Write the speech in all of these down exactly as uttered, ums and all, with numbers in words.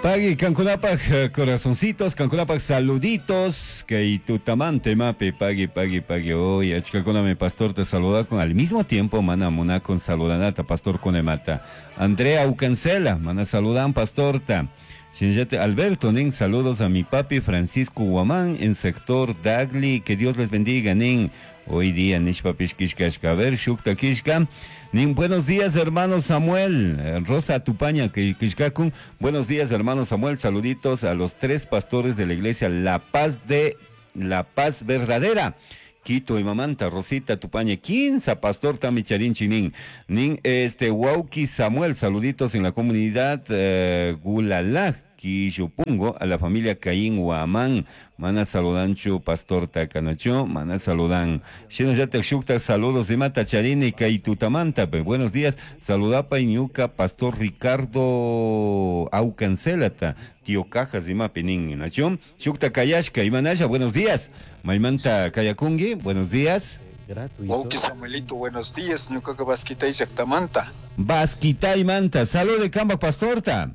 Pagui, kankunapaj eh, corazoncitos, kankunapaj saluditos, kay tutamante mape, pagui, pagui, pagui, hoy, achkakunami pastor te saluda con al mismo tiempo, mana munakun saludanata, pastor kunemata. Andrea Ucancela, mana saludan pastorta. Shinllate Alberto, nin, saludos a mi papi Francisco Guamán en sector Dagli, que Dios les bendiga, nin. Hoy día, nishpapish kishkashka, a ver, shukta kishka. Nin, buenos días, hermano Samuel. Eh, Rosa Tupaña, que kishkakun. Buenos días, hermano Samuel. Saluditos a los tres pastores de la iglesia La Paz de La Paz Verdadera. Quito y Mamanta, Rosita Tupaña, quince, Pastor Tamicharín Chinin, Nin, este, Wauki Samuel, saluditos en la comunidad eh, Gulalaj, Quillopungo, a la familia Caín Huamán, mana saludanchu, Pastor Takanacho, mana saludan. Shino ya shukta, saludos de Mata Charini, Kaitutamanta, buenos días, saludapa Iñuca, Pastor Ricardo Aucancelata, tío Cajas de Mapinin, Nacho, Shukta Kayashka, Imanaya, buenos días, Maimanta Kayakungi, buenos días. Gratuito. Wauki Samuelito, buenos días, ñucaca Basquitay llaqtamanta. Basquitay manta, salud de Camba Pastorta.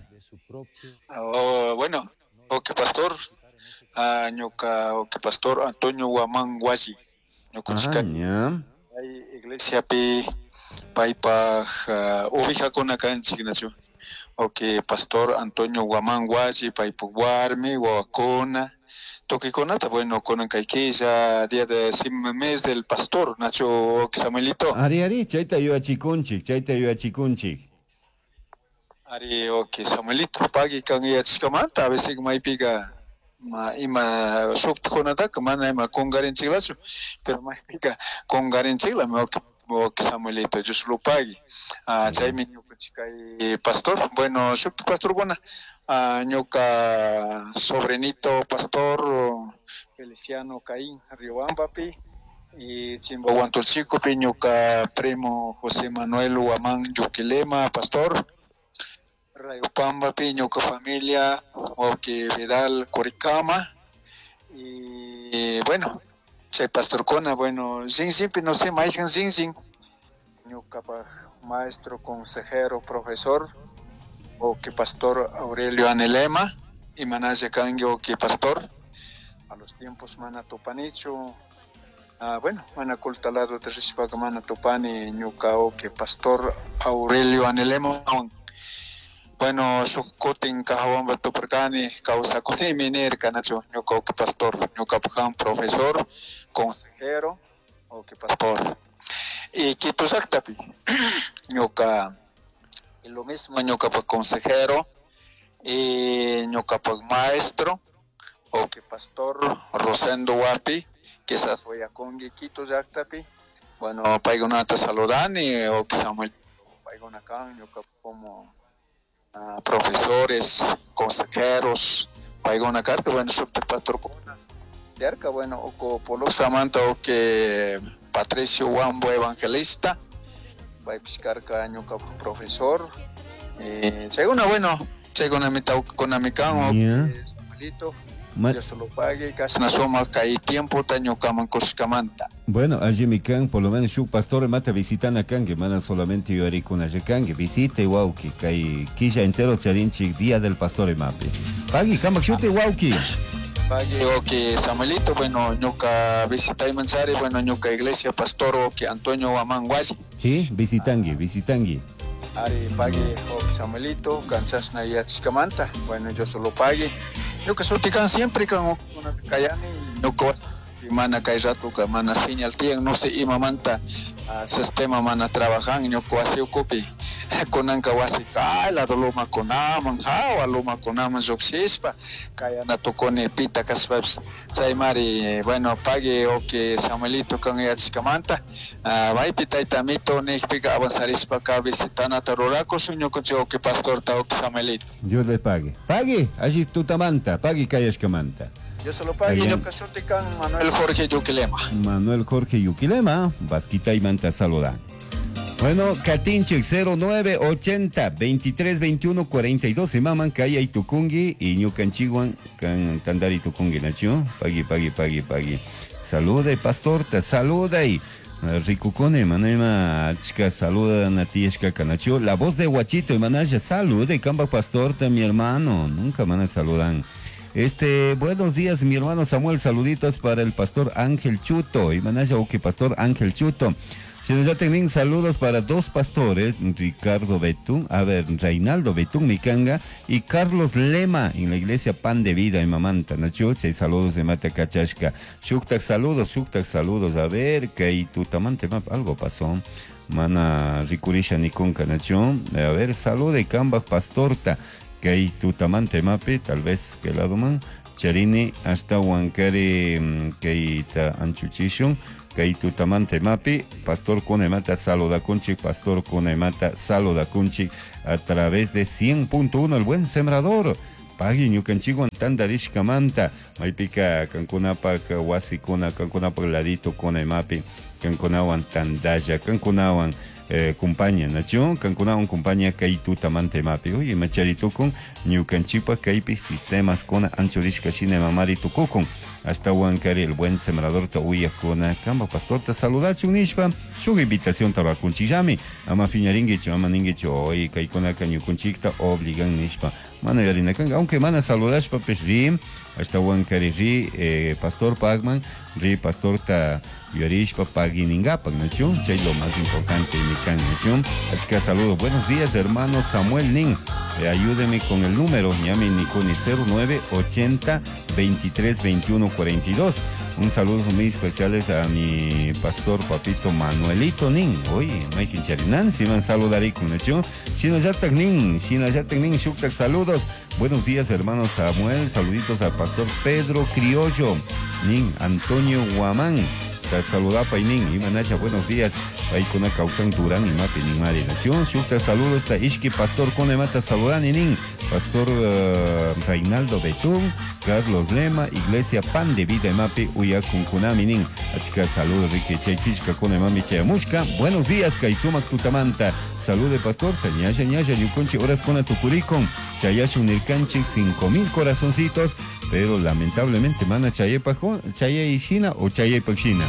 Oh, bueno, ok pastor, ah, ñuka ok pastor Antonio Guamán Huasi. Ñuka Ah, hay iglesia pi paypaj uh, ovejakuna kanchik nachu. Ok pastor Antonio Guamán Huasi paypaj warmi wawakuna tukikunata, bueno, kunan kay killa día de mes del pastor nachu ok Samuelito. Ari ari, chayta yuyachikunchik, chayta yuyachikunchik. Ari ok Samuelito pagui kan yachashkamanta a veces maypiqa ma ima shuktakunataka mana ima kunkarinchiklachu pero maypiqa kunkarinchiklami ok ok Samuelito Dios lo pagui. Ah, chaymi ñukanchik kay pastor, bueno, shukta pastorkuna ah, ñuka sobrinito pastor Feliciano Caín Riobambapi y Chimbahuantolchicopi ñuka primo José Manuel Huamán Yuquilema pastor. Rayopambapi ñuka familia ok Vidal Coricama y bueno chay pastorkuna bueno rinrinpi no sé mayhan rinrin ñukapaj maestro consejero profesor ok pastor Aurelio Anelema y manalla kanki ok pastor a los tiempos mana tupanichu ah, bueno mana kultalado rishpaka mana tupani ñuka ok pastor Aurelio Anelema. Bueno, shuk kutin kajawanpa tuparkani kawsakunimi nirka nachu ñuka ok pastor ñukapak profesor consejero ok pastor y Quito llaqtapi ñuka y lo mismo ñukapak consejero y ñukapak maestro ok pastor Rosendo Huapi quizás wayakunki Quito llaqtapi bueno paykunata saludani ok Samuel paykuna kan ñuka como Uh, profesores, consejeros, paykuna karka, bueno, shukta pastorkuna yarka, bueno, oko Polosamanta o que Patricio Huambo evangelista, paypish karka ñuka profesor, eh, chaykuna, bueno, chaykuna mi tawkakunami kan, o Yeah. Samuelito, Ma- Dios lo pague, kashna sumak kay tiempota ñukaman kushkamanta. Bueno, allí mi can, por lo menos shuk pastor mata visitana kan, que mana solamente yuyarikuna kan, que visite wauki, kay killa entero charinchik día del pastor mapi. Pagui, kamak shuti wauki. Pagui, ok, Samuelito, bueno, ñuka visitayman chari, bueno, ñuka iglesia pastor, ok, Antonio Huamán Huasi. Sí, visitangui, visitangui. Ari, pagui, ok, Samuelito, kanchashna yachashkamanta, bueno, yo solo pagui. Ñuka shuti kan siempre kan una kayani, ñuka mana kay ratuka mana señal tiyan, no sé imamanta uh, sistema mana trabajan, ñuka wasi ukupi kunanka wasi kay lado lumakunaman, hawa lumakunaman lluqshishpa kayana tukuni pita kashpapish chaymari, bueno, pagui, ok, Samuelito kan yachashkamanta, uh, maypi tayta amito nijpika avanzarishpaka visitanata rurakushun ñukanchik ok pastorta ok Samuelito. Dios le pague. Pagui, allí tutamanta, pagui kayashkamanta. Yo solo pague, Bien. ñuka shuti kan Manuel Jorge Yuquilema. Manuel Jorge Yuquilema, Vasquita y Manta saludan. Bueno, Katinchik cero nueve ochenta veintitrés veintiuno cuarenta y dos se maman Kaya y Tucungui y Ñucanchiguan kan Tandari Tucungui Nacho. Pagui, pagui, pagui, pagui. Saluda y pastor, te saluda y Rikukuni mana ima achka saludana tiyashka kanachu. La voz de Guachito imanasha salude kamba pastorta mi hermano, nunca mana saludan. Este, buenos días mi hermano Samuel, saluditos para el pastor Ángel Chuto, imanasha uki pastor Ángel Chuto. Shinallatik saludos para dos pastores, Ricardo Betún, a ver, Reinaldo Betún Micanga y Carlos Lema en la iglesia Pan de Vida en Mamanta, Nacho, seis saludos de Mata Cachashka. Shuktak saludos, shuktak saludos, a ver, que tutamante algo pasó. Mana rikurisha nikunka, Nacho, a ver, salude Kamba pastorta, que tutamante mapi, tal vez que lado man, Charini hasta Huancari, que ta anchuchishun. Kaitutamante mapi, pastor Conemata saluda kunchik, pastor Conemata saluda kunchik a través de cien punto uno, el buen sembrador. Pagui ñukanchikwan tantarishkamanta, maypika kankunapak wasikuna, kankunapak ladito konemapi, kankunawan tandalla, kankunawan eh, compañía, nacho, kankunawan compañía kaitutamante mapi. Oye, macharitukun, ñukanchipak kaypi sistemas kona anchurishka shina mamari tukukun. Hasta Huancari, el buen sembrador ta uyakuna, kamba pastor ta saludachun nishpa, shuk invitación tabakunchillami, ama fiñaringuichu, ama ninguichu, oye, kaikunaka ñukunchikta obligan nishpa, mana yarinakanga, aunque mana saludashpa, pues ri, hasta Huancari ri, eh, pastor Pagman, ri pastor ta yarishpa paginingapak, nachu, chay lo más importante, mikan, nachu, así que saludos, buenos días, hermano Samuel Nin, eh, ayúdeme con el número, ñami nikuni cero nueve ochenta veintitrés veintiuno cuarenta y dos. Un saludo muy especiales a mi pastor papito Manuelito Nin. Oye, Mike Charinan, si man saludaré con nacho. Shinayatak Nin, Shinayatak Nin, Shuktak, saludos. Buenos días, hermano Samuel. Saluditos al pastor Pedro Criollo, Nin, Antonio Guamán. Saludapa y Nin, Imanacha, buenos días. Paikuna causan Durán y Mapi Nin Mari Nación. Shukta, saludos está Ishki, pastor Conemata, saludani Nin, pastor uh, Reinaldo Betún, Carlos Lema, Iglesia Pan de Vida Mapi, Uyakunkunami Nin. Achka, saludos, Ricky Chaychishka, Conemami Chayamushka. Buenos días, Kaisumak Tutamanta. Salude, pastor, Tañaya, Ñaya, Yukunchi, horas con Atucuricon, Chayashu Nirkanchi, cinco mil corazoncitos, pero lamentablemente, mana Chayepajo, Chayeshina o Chayepachina.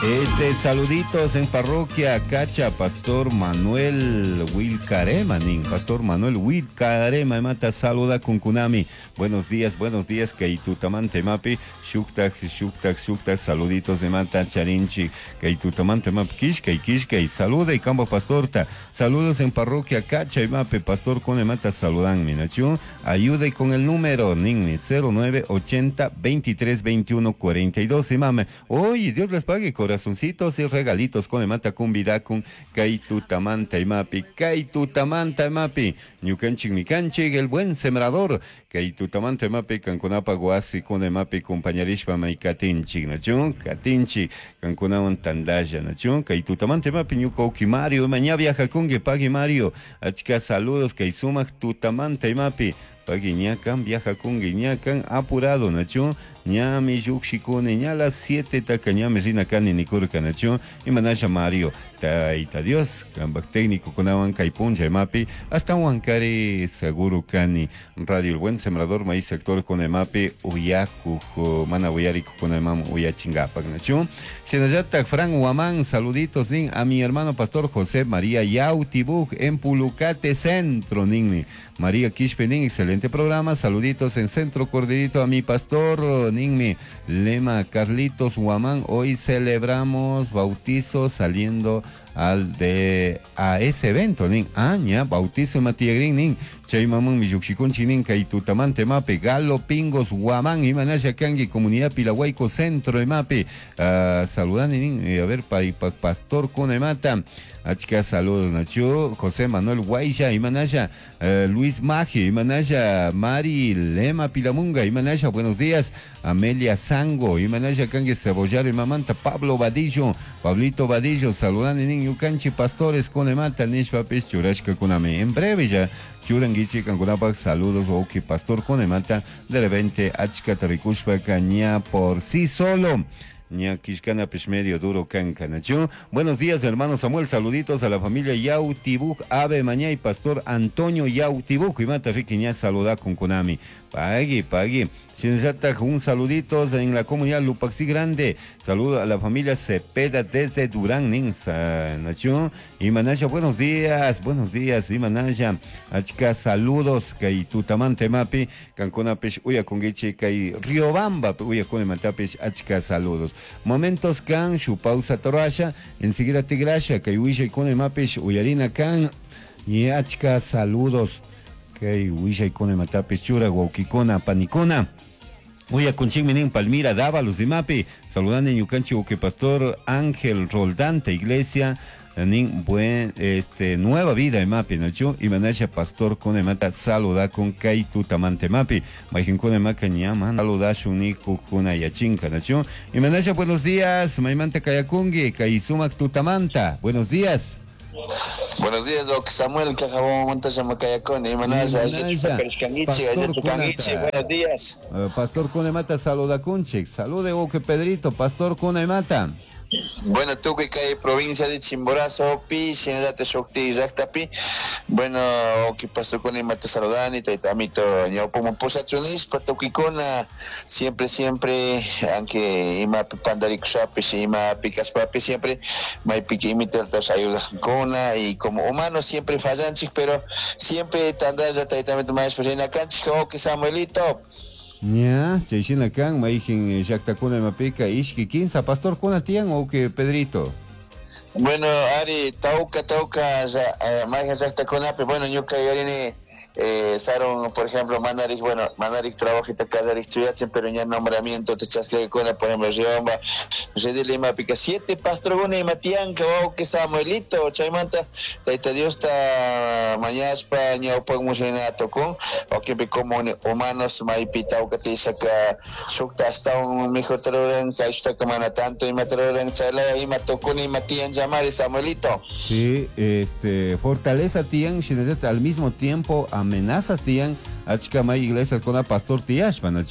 Este, saluditos en parroquia Cacha, Pastor Manuel Wilcarema, nin, Pastor Manuel Wilcarema, mata saluda con Kunami. Buenos días, buenos días, Kaitutamante mapi, Shuktak, Shuktak, Shuktak, saluditos de mata Charinchi, Kaitutamante mapi, Kishkay, Kishkay, saluda y campo pastorta. Saludos en parroquia Cacha y mapi, Pastor Conemata, saludan, minachu. Ayude con el número, nin, cero nueve ochenta veintitrés veintiuno cuarenta y dos, y mame. Oye, Dios les pague, corazoncitos y regalitos con mata cumbidacun kaitutamanta y mapi, kaitutamanta y mapi, ñukanchik mikanchik, el buen sembrador, kaitutamanta y mapi, kankunapa guasi con mapi, compañerishpa maikatinchik, nachun, katinchi, kankunawan tandaya, nachun, kaitutamanta y mapi, ñuka Mario, mañana viaja kunge, pagui Mario, achka saludos, kaisumak tutamanta y mapi, pagui ñakan, viaja kunge, ñakan, apurado, nachun, ñami yuxikune, ña las siete taka ñami rina kani nikurka nacho, y manasha Mario, taita Dios, kambak técnico kunawan kaipuncha mapi, hasta huancari seguro kani, radio el buen sembrador, maíz sector con el mapi, uyaku, mana uyariku con el mam uyachingapak nacho. Shinayata Fran Huamán, saluditos nin, a mi hermano pastor José María Yautibuk en Pulucate Centro, nin, María Quispe, nin, excelente programa, saluditos en Centro Corderito a mi pastor, ninmi, Lema Carlitos Huamán, hoy celebramos bautizo saliendo al de a ese evento, nin, aña, bautizo Matiagrin, nin, chay mamán mi yuxicunchi, nin, kaitutamante mape, Galo Pingos Huamán, Imanaya Kangi, Comunidad Pilahuayco Centro, mape, uh, saludan, nin, a ver, pa, pa, pastor Conemata, achka saludos, Nacho, José Manuel Guaysha, Imanaya, uh, Luis Maje, Imanaya, Mari Lema Pilamunga, Imanaya, buenos días, Amelia Sango, Imanaya Kangi Cebollar, Imamanta, Pablo Vadillo, Pablito Vadillo, saludan, nin, Yukanchi, pastores, Conemata, Nishpapis, Churashka Kuname, en breve ya, Churanguichi, Kankunapak, saludos, Oki, pastor Conemata, de repente, Achka Tarikushpa, Caña por sí solo. Ñaquishkana medio duro cancanachu. Buenos días, hermano Samuel. Saluditos a la familia Yautibuk, Ave Mañá y pastor Antonio Yautibuk. Y mata riquiña saluda con Konami. Pagui, pagui. Shinllataj un saludito en la comunidad Lupaxi Grande. Saludo a la familia Cepeda desde Durán, Ninsa, Nacho. Y Manaya, buenos días, buenos días, y Manaya. Achka saludos, kay tutamante mapi, kankunapish uyakungichi, kay Riobamba, uyakunemantapish, achka saludos. Momentos kan, shu pausa torasha, enseguida tigrasha, kay wishaykune mapish, uyarina kan, y achka saludos. Kay wishaykune matapis chura, wawkikuna, panikuna. Uyakunchikmi nin Palmira Dávalos imapi. Saludani ñukanchik uke pastor Ángel Roldante Iglesia nin buen este nueva vida imapi nachu imanasha pastor kuna imata saluda con kay tutamante mapi mayqinkuna imaka ñama saludashun nikukuna yachinka nachu imanasha buenos días maymanta kayakunki kay sumak tutamanta buenos días. Buenos días, Doc Samuel, Cajabón, Montasha, Imanasha, buenos días. Uh, pastor Kunemata, saluda kunchik, salude Oque Pedrito, Pastor Kunemata. Bueno, tukuy kay provincia de Chimborazo, pi, shinallata shukti llaktapi. Bueno, que pastor Kunemata saludani, tayta amito ñawpaman pusachunishpa tukuykuna, siempre, siempre, aunque imapi pantarikushapish, imapi kashpapish, siempre maypika imitatas ayudajkuna y como humanos siempre fallanchik, pero siempre tandalla tayta amito mañashpa rinakanchik, okay Samuelito. Ña, chayshina kan, mayjin llaktakuna imapika, ishki kinsa, pastor kuna tiyan o que Pedrito. Bueno, Ari, tauka, tauka, mayjin llaktakunapi, bueno, ñuka yuyarini, eh, Saron, por ejemplo, mandarik, bueno, mandarik trabajita kallarik chuyachin, pero ña nombramiento te chaskakuna, por ejemplo, Riobamba, Redil imapika, siete pastorkuna ima tiyanka, wawqi Samuelito, chaymanta, Tayta Diosta mañashpa, ñawpak mushaynata tukun, wakinpi como humanos, maypi tawka tiyashaka, shukta ashtawan mejorta ruran, kayshtaka mana tanto imata ruran, chaylaya ima tukuna ima tiyan llamari, Samuelito. Sí, este, fortaleza tiyan, shinallata al mismo tiempo amenazas tiyan, achka may iglesias con pastor tiyashpa, ¿no?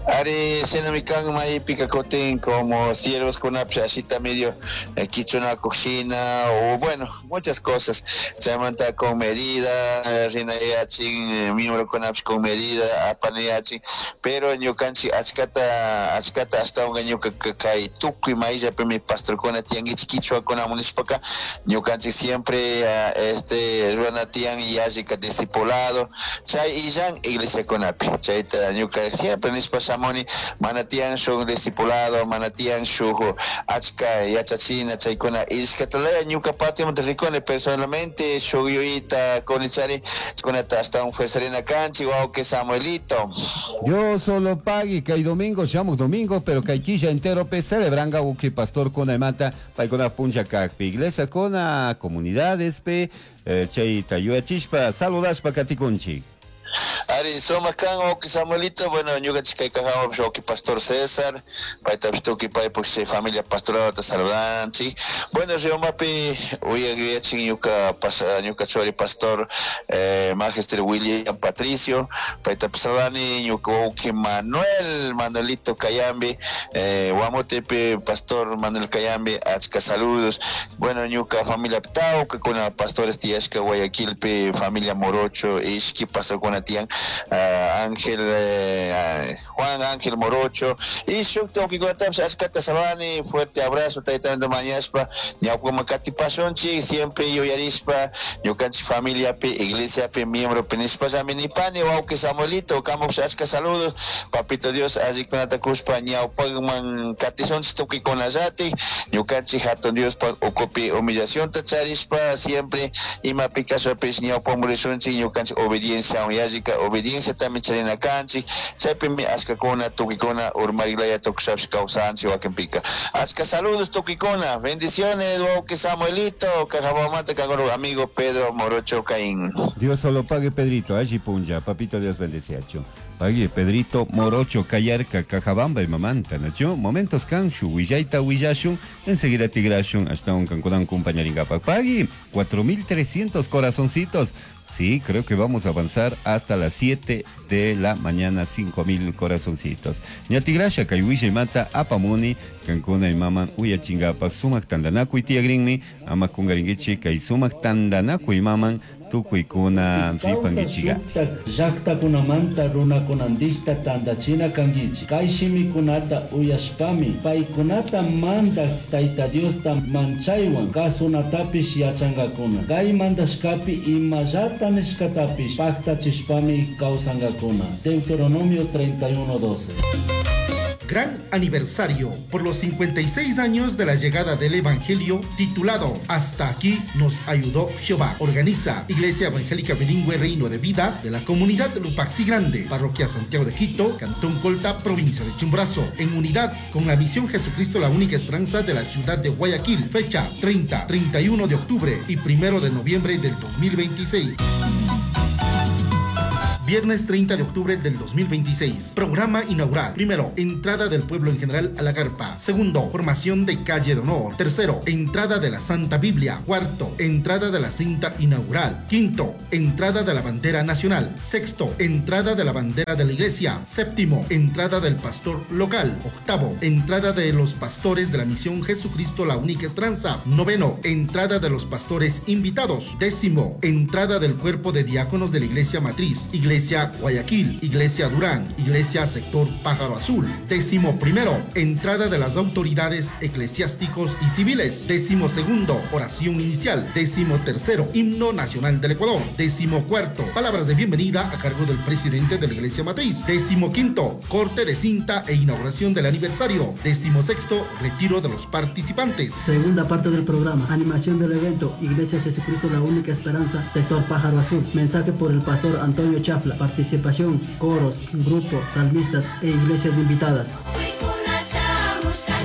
Ari, shinami kan maypika kutin como siervos kunapish ashita medio eh, kichunakuq shina o bueno, muchas cosas. Chaymanta con medida, rinayachin, miembro kunapish con medida, apanayachin, pero ñukanchik achkata, achkata ashtawanka ñuka kay tukuy mayllapimi pastorkuna tiyankichik kichwakunamun nishpaka ñukanchik siempre uh, este rurana tiyan yallika discipulado, chay illan iglesiakunapi, chayta ñuka siempre nishpa shamuni, mana tiyan shuk discipulado, mana tiyan shuk achka yachachina chaykuna ishkatalaya ñuka partimanta rikuni personalmente shuk yuyita kunichari kunata ashtawan fuerzarina kanchik wawqi Samuelito. Dios solo pagui kay domingo shamuj domingo pero kay killa entero pe celebranga uki pastor kuna imata paykuna punlla kakpi iglesia kuna comunidades pe eh, chayta yuyachishpa saludashpa katikunchik. Ari, sumak kan wawqi Samuelito, bueno, ñukanchik kay Cajabamba wawqi Pastor César, paytapish tukuy paypuk familia pastoralta saludanchik. Bueno, Riobambapi uyak yuyachin ñuka pas, ñuka churi pastor eh, Magister William Patricio, paytapish saludani, ñuka wawqi Manuel, Manuelito Cayambi, eh, Guamotepe, Pastor Manuel Cayambi, achka saludos. Bueno, ñuka familia tawka kuna pastores tiyashka Guayaquilpi, familia Morocho, ishki pastor kuna tiyan, uh, Ángel, eh, Juan Ángel Morocho, y shukta wawqikunatapish achkata saludani, fuerte abrazo, tayta mañashpa, ñawpaman katipashunchik, siempre yuyarishpa, ñukanchik familiapi, iglesiapi, miembropi nishpallami nipani, wawqi Samuelito, kamupish achka saludos, papito Dios, allikunata kushpa, ñawpaman katishunchik tukuykunallatik, ñukanchik hatun Diospa ukupi humillacionta charishpa, siempre imapi kashpapish ñawpaman rishunchik, ñukanchik obediencia yallika obediencia también charina kanchik, chaypimi achkakuna tukuykuna urmariklaya tukushapish kawsanchik wakinpika. Achka saludos tukuykuna, bendiciones wawqi Samuelito, Cajabambamanta kankunapak amigo Pedro Morocho Caín. Dios solo pague Pedrito, allí punlla, papito Dios bendeciacho. Pague Pedrito Morocho Cayarca, Cajabamba y Mamanta, nacho. Momentos kanshu, willayta willashun, enseguida tigrashun, hasta un kankunan compañeringapak. Pagui, cuatro mil trescientos corazoncitos. Sí, creo que vamos a avanzar hasta las siete de la mañana, cinco mil corazoncitos. Ña tigrasha, kay willay mata, apamuni, kankuna y maman, uyachingapak, sumak tandanakuy tiyagrinmi, ama kungaringichi, kay sumak tandanakuy maman, Tukuykuna ripankichika. Shuktak llaktakunamanta runakunandikta tantachina kankichik. Kay shimikunata uyashpami paykunata mandak Tayta Diosta manchaywan kasunatapish yachankakuna. Kay mandashkapi imallata nishkatapish paktachishpami kawsankakuna. Deuteronomio treinta y uno doce. Gran aniversario por los cincuenta y seis años de la llegada del Evangelio, titulado Hasta aquí nos ayudó Jehová. Organiza Iglesia Evangélica Bilingüe Reino de Vida de la Comunidad Lupaxi Grande, Parroquia Santiago de Quito, Cantón Colta, Provincia de Chimborazo, en unidad con la Misión Jesucristo la Única Esperanza de la Ciudad de Guayaquil. Fecha treinta, treinta y uno de octubre y primero de noviembre del dos mil veintiséis. Viernes treinta de octubre del dos mil veintiséis. Programa inaugural. Primero, entrada del pueblo en general a la carpa. Segundo, formación de calle de honor. Tercero, entrada de la Santa Biblia. Cuarto, entrada de la cinta inaugural. Quinto, entrada de la bandera nacional. Sexto, entrada de la bandera de la iglesia. Séptimo, entrada del pastor local. Octavo, entrada de los pastores de la misión Jesucristo la Única Esperanza. Noveno, entrada de los pastores invitados. Décimo, entrada del cuerpo de diáconos de la iglesia matriz. Iglesia Guayaquil, Iglesia Durán, Iglesia Sector Pájaro Azul. Décimo primero, entrada de las autoridades eclesiásticos y civiles. Décimo segundo, oración inicial. Décimo tercero, himno nacional del Ecuador. Décimo cuarto, palabras de bienvenida a cargo del presidente de la Iglesia Matriz. Décimo quinto, corte de cinta e inauguración del aniversario. Décimo sexto, retiro de los participantes. Segunda parte del programa, animación del evento, Iglesia Jesucristo la Única Esperanza, Sector Pájaro Azul. Mensaje por el pastor Antonio Chafla. Participación, coros, grupos, salmistas e iglesias invitadas.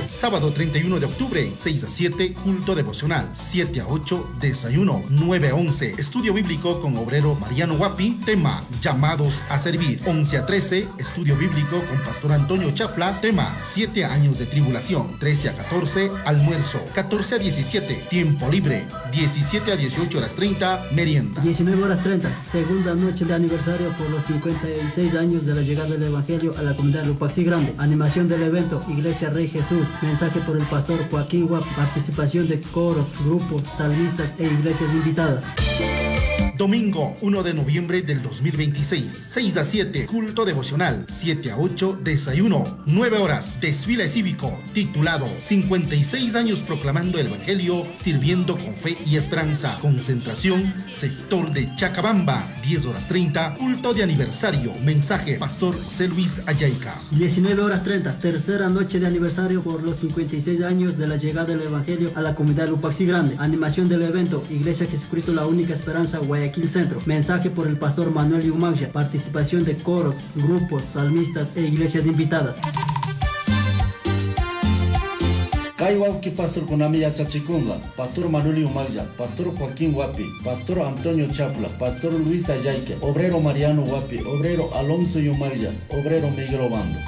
Sábado treinta y uno de octubre, seis a siete, culto devocional, siete a ocho, desayuno, nueve a once, estudio bíblico con obrero Mariano Guapi, tema, llamados a servir, once a trece, estudio bíblico con pastor Antonio Chafla, tema, siete años de tribulación, trece a catorce, almuerzo, catorce a diecisiete, tiempo libre, diecisiete a dieciocho horas treinta, merienda. diecinueve horas treinta, segunda noche de aniversario por los cincuenta y seis años de la llegada del Evangelio a la comunidad Lupaxi Grande. Animación del evento, Iglesia Rey Jesús, mensaje por el pastor Joaquín Guapi, participación de coros, grupos, salmistas e iglesias invitadas. Domingo uno de noviembre del dos mil veintiséis, seis a siete, culto devocional, siete a ocho, desayuno, nueve horas, desfile cívico, titulado cincuenta y seis años proclamando el Evangelio, sirviendo con fe y esperanza, concentración, sector de Chacabamba, diez horas treinta, culto de aniversario, mensaje, pastor José Luis Ayaica. diecinueve horas treinta, tercera noche de aniversario por los cincuenta y seis años de la llegada del Evangelio a la comunidad Lupaxi Grande, animación del evento, Iglesia Jesucristo la Única Esperanza, Guayaquil Centro, mensaje por el pastor Manuel Yumagya, participación de coros, grupos, salmistas e iglesias invitadas. Kay wawki pastor kunami yachachikunga, pastor Manuel Yumagya, pastor Joaquín Guapi, pastor Antonio Chapla, pastor Luis Ayaique, obrero Mariano Guapi, obrero Alonso Yumagya, obrero Miguel Obando.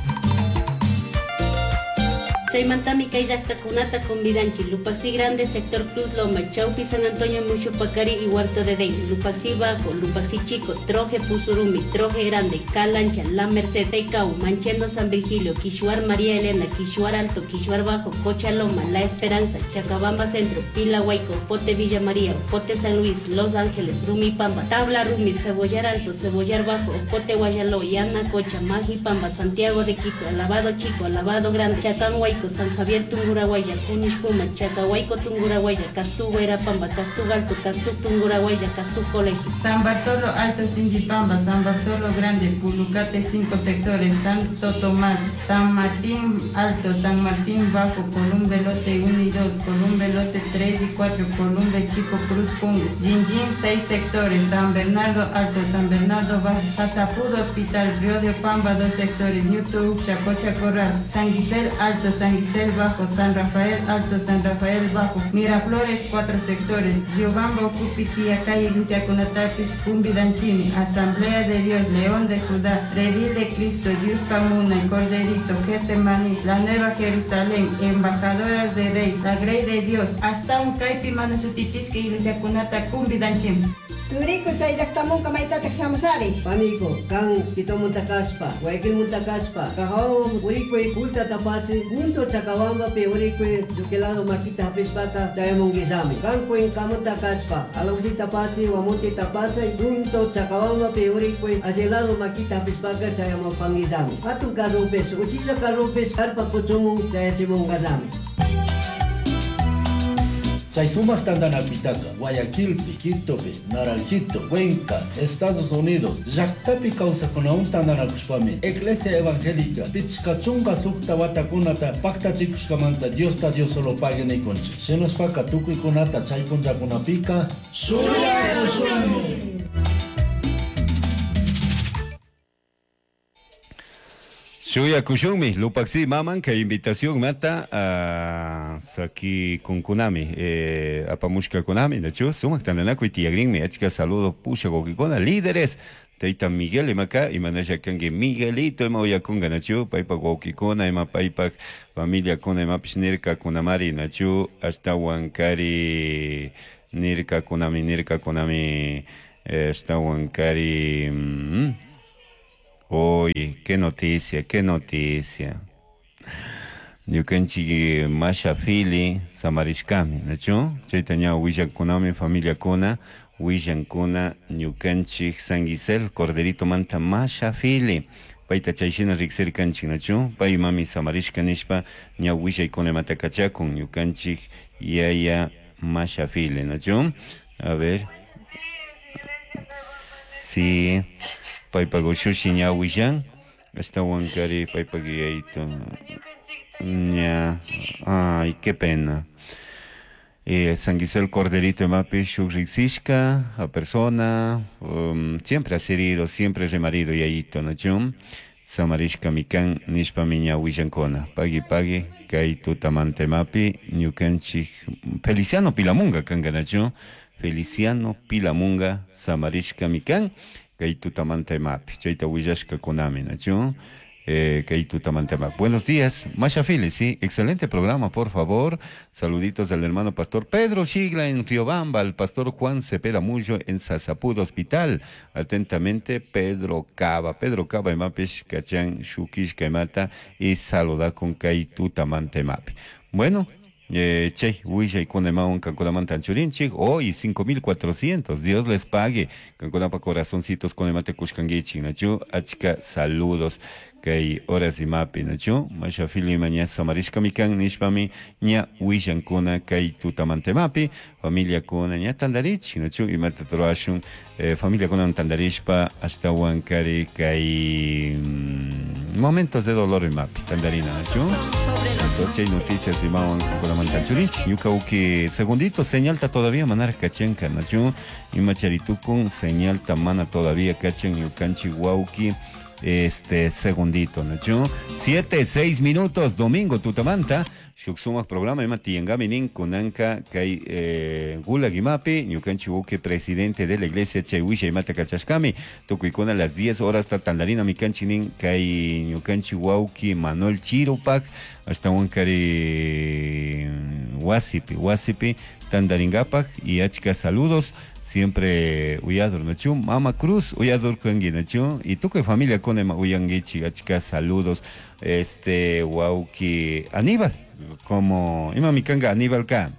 Chaymantami kay llaqtakunata convidanchi, Lupaxi Grande, Sector Cruz Loma, Chaupi, San Antonio, Mushupacari y Huerto de Dey, Lupaxi Bajo, Lupaxi Chico, Troje Pusurumi, Troje Grande, Calancha, La Merced, Teicau, Manchendo, San Virgilio, Quishuar, María Elena, Quishuar Alto, Quishuar Bajo, Cochaloma, La Esperanza, Chacabamba Centro, Pila Huayco, Pote Villa María, Pote San Luis, Los Ángeles, Rumipamba, Tabla Rumi, Cebollar Alto, Cebollar Bajo, Pote Guayaló, Yanacocha, Majipamba, Santiago de Quito, Alabado Chico, Alabado Grande, Chacán Huayco, San Javier Tungurahuaya, Cunishpuma, Chacahuayco Tungurahuaya, Castú Guairapamba, Castú Alto, Castú Tungurahuaya, Castú Colegio. San Bartolo Alto, Sindipamba, San Bartolo Grande, Pulucate, cinco sectores, Santo Tomás, San Martín Alto, San Martín Bajo, Columbe Lote uno y dos, Columbe Lote tres y cuatro, Columbe Chico, Cruz Pungo, Jinjin, seis sectores, San Bernardo Alto, San Bernardo Bajo, Pasapudo Hospital, Río de Pamba, dos sectores, Ñutu, Chacocha Corral, San Guisel Alto, San Guisel Bajo, San Rafael Alto, San Rafael Bajo, Miraflores, cuatro sectores, Riobamba, Ocupitía, Calle Iglesia Conatapis, Cumbidanchimi, Asamblea de Dios, León de Judá, Redil de Cristo, Dios Pamuna, el Corderito, Getsemaní, la Nueva Jerusalén, Embajadoras de Rey, la Grey de Dios, hasta un Caipi Manusutichishki, Iglesia Cunata, Cumbidanchimi. Turiku chay llaqtamunka maytataq shamushari. Paniko, kan Quitomunta kashpa, Guayaquilmunta kashpa, Cajahuan urikuy kulta tapasi, punto Chacabambapi urikuy lluquilado makita hapishpaka chayamunguillami. Kan Cuencamunta kashpa, Alausí tapasi, Guamonte tapasi, punto Chacabambapi urikuy allilado makita hapishpaka chayamupanguillami. Hatun carrupis, uchilla carrupis, carpa kuchumun chayachimunqallami. Chay sumaq tantanakuytaqa Guayaquilpi, Quitopi, Naranjito, Cuenca, Estados Unidos, llaqtapi kawsakunawan tantanakushpami Iglesia Evangélica pichqa chunka suqta watakunata paqtachikushkamanta Diosta Dios solo pague nikunchik. Shinashpaka tukuykunata chay punllakunapika shuyakushunmi. Shuyakushunmi, Lupaxi maman, kay invitación mata a saki kunkunami, eh, apamushka kunami, nachu, sumaq tantanakuy tiyagrinmi, achka saludo pusha wawqikuna, líderes, tayta Miguel imaka, imanasha kanki Miguelito ima uyakunga, nachu, paypak wawqikuna, ima paypak familiakuna, imapish nirkakunamari, nachu, ashtawan kari nirkakunami, nirkakunami, ashtawan kari... Mm, Oye, qué noticia, qué noticia. Ñukanchik Masha Fili samarishkami, ¿nachu? Chayta ña willakunami familiakuna, willankuna ñukanchik San Gisel, Corderito manta Masha Fili. Payta chayshina riqsirkanchik, ¿nachu? Pay mami samarishka nishpa ña willaykuna imata kachakun ñukanchik yaya Masha Fili, ¿nachu? A ver. Sí. Paypak ushushi ña willan, ashtawan kari paypak yayito ña, ay, qué pena. Eh, San Gisel Corderito imapi shuk riqsishka a persona, um, siempre ha sido, siempre remarido yayito, ¿no? Samarishka mikan nishpami ña willankuna. Pagui pagui kay tutamanta imapi ñukanchik Feliciano Pilamunga kanka, ¿nachu? Feliciano Pilamunga samarishka mikan kay tutamanta imapi chayta willashka kunami, ¿nachu? Eh, kay tutamanta imapi. Buenos días, Masha Fili, sí, excelente programa, por favor. Saluditos al hermano pastor Pedro Shigla en Riobamba, al pastor Juan Cepeda Mullo en Sasapud Hospital. Atentamente, Pedro Cava. Pedro Cava imapish kachan shukish kaimata y saluda con kay tutamanta imapi. Bueno, Eh, che, willaykuna imawan kankunamanta anchurinchik, hoy cinco mil cuatrocientos, Dios les pague, kankunapa corazoncitos con imate kushkankichik, nachu, achka saludos, kay horas imapi, nachu, Masha Fili maña samarishka mikan nishpami, ña willankuna kay tutamanta imapi, familia kuna ña tandarichik, nachu, imata truashun, eh, familia kuna tandarishpa, ashtawan kari kay mm, momentos de dolor imapi, tandarina, nachu. Entonces hay noticias de imawan kankunamanta anchurinchik, ñuka uki segundito, señalta todavía manar kachanka, nachu, imacharitukun, señalta mana todavía kachan, ñukanchik wauki, este segundito, nachu. Siete, seis minutos, domingo, tutamanta, shuk sumaq programa ima tiyangami nin kunanka kay eh, gulag imapi, ñukanchik wauki presidente de la iglesia chay wisha imata kachashkami, tukuykuna las diez horas tandarina mikanchik nin kay ñukanchik wauki Manuel Chirupak, ashtawan kari wasipi, wasipi tandaringapak y achka saludos. Siempre uyador, nachu, Mama Cruz, uyador kangi, nachu, y tukuy familia con ema uyangichi, achka saludos, este, wauki, Aníbal, como, ima mi kanga Aníbal ka,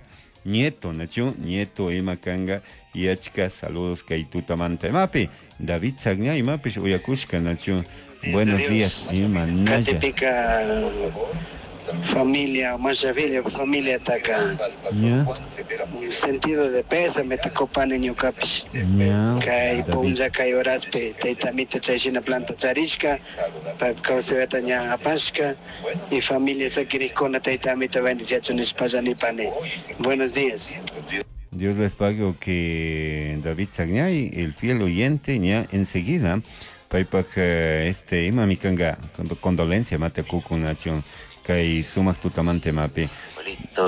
nieto, nachu, nieto ima kanga, y achka saludos kay tutamanta imapi, David Sagña imapish uyakushka, nachu, buenos días, ima naya. Katipika familia, Masha Fili, familia taka. Yeah. Un sentido de pésame takopani ñukapish. Yeah. Kay punlla kay horaspi taytamita chayshina planta charishka, paypa kawsayta ña apashka y familia sakirikkuna taytamita bendiciachun nishpalla nipani. Buenos días. Dios les pague o que David Sagñay, el fiel oyente, ña enseguida paypak este ima mikanga condolencia mate kukun nachun Kay sumak tutamante mapi.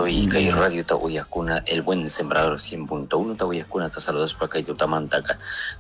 Y kay radio Tawayakuna, el buen sembrador cien punto uno Tawayakuna, te saludos para kay tutamantaka.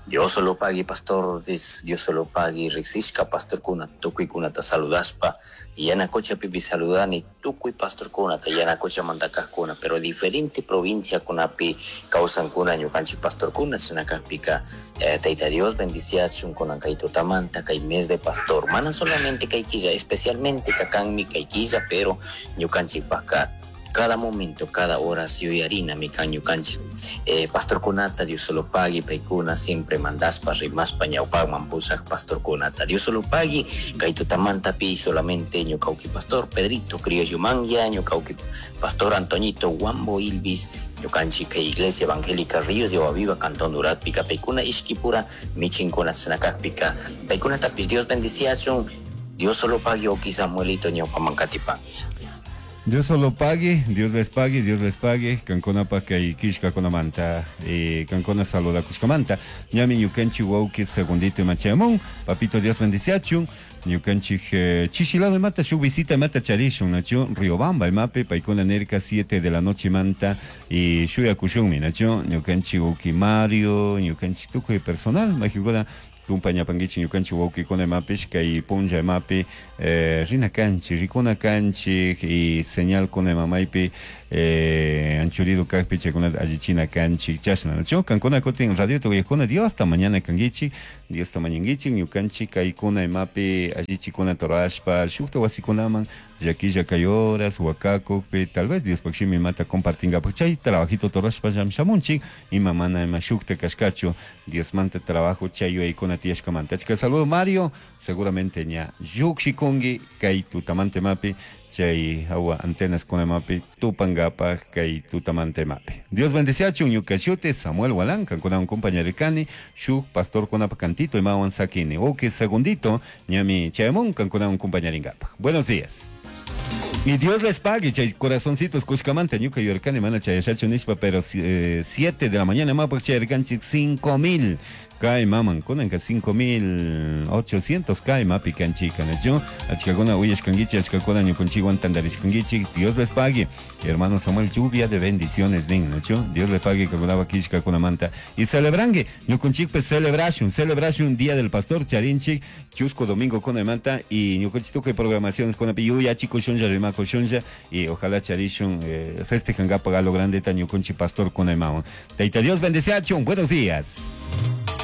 Dios solo pague, pastor, Dios solo pague, rixishka, pastor kuna, tukuy kuna te saludas pa. Yanacocha pipi saludani, tukuy pastor kuna, te yanacocha mandaka kuna, pero diferente provincia kunapi causan kuna, ñukanchi pastor kuna, chinakapika, eh, taita Dios bendiciachun kuna kay tutamanta, kay mes de pastor. Mana solamente kay quilla, especialmente kakanmi kay quilla, pero ñukanchi paka. Cada momento, cada hora, si hoy harina, mi caño canchi. Eh, pastor Kunata, Dios solo pague, paikuna, siempre mandaspa, rimaspa, ñaupag, mampusaj, pastor Kunata, Dios solo pague, kaitutamanta pi, solamente ñucauqui pastor Pedrito, Criollo Manga, ñucauqui pastor Antoñito, Guambo Ilvis, ñucanchi, que Iglesia Evangélica Ríos de Aguaviva, Cantón Durat, pica, paikuna, Ishkipura, michincuna, tsanacaj, pica, paikuna tapis, Dios bendiciachun, Dios solo pague, oki Samuelito, ñaupamancatipa. Dios solo pague, Dios les pague, Dios les pague. Cancona pa kay kishka konamanta, eh, cancona saluda kushkamanta. Ñami ñukanchi wauki segundito machamón. Papito Dios bendiciachun. Ñukanchi eh, chishilado mata shu visita mata charishun nacho Riobamba mape paikuna nerca siete de la noche manta y shuya kushunmi nacho ñukanchi wauki Mario ñukanchi tukuy personal majiguna kumpaña pangichi ñukanchi wawkikuna imapish kay punlla imapi eh, rina kanchi rikuna kanchi y señal kuna imamaypi eh, anchurido kajpi chaykunata allichina kanchi chashna nacho kankuna kutin radio tuyakuna Dios hasta mañana kangichi Dios hasta mañangichi ñukanchi kaykuna imapi allichikuna torashpa shukta wasikunaman llakilla kay horas wakakukpi tal vez Dios pakshimi imata compartingapak chay trabajito torashpa llamshamunchik ima mana ima shukta kashkachu Dios manta trabajo chay yuyaykuna tiyashkamanta. Achka saludo Mario, seguramente ña llukshikunki kay tutamante mapi chay agua antenas con mapi tupangapaj kay tutamante mapi. Dios bendeciachun ñuka shuti Samuel Walanka con un compañero kani shuk pastor kunapa cantito imawan sakini. Ok, segundito ñami chayamun con un compañero ingapaj. Buenos días. Y Dios les pague, chay corazoncitos, kushkamanta, ñuka yurkani, mana chayashachu nishpa, pero eh, siete de la mañana, ma, pues chayarkanchik cinco mil. Kay maman, kunanka cinco mil ochocientos kay mapi kanchika, nacho. Achkakuna uyashkangichi, achkakuna ñukunchiwan tandarishkangichi, Dios les pague. Hermano Samuel, lluvia de bendiciones, nin, nacho. Dios les pague, kakunaba kishka kunamanta. Y celebrangue, ñukunchikpe celebration, celebration Día del Pastor, charinchik, chusco domingo kunamanta, y ñukunchituke programaciones kunapi, yuya chico shunja, rimako shunja, y ojalá charishun, eh, festejangapa galo grande, ta ñukunchi pastor kunamawan. Taita Dios bendeciachun, buenos días.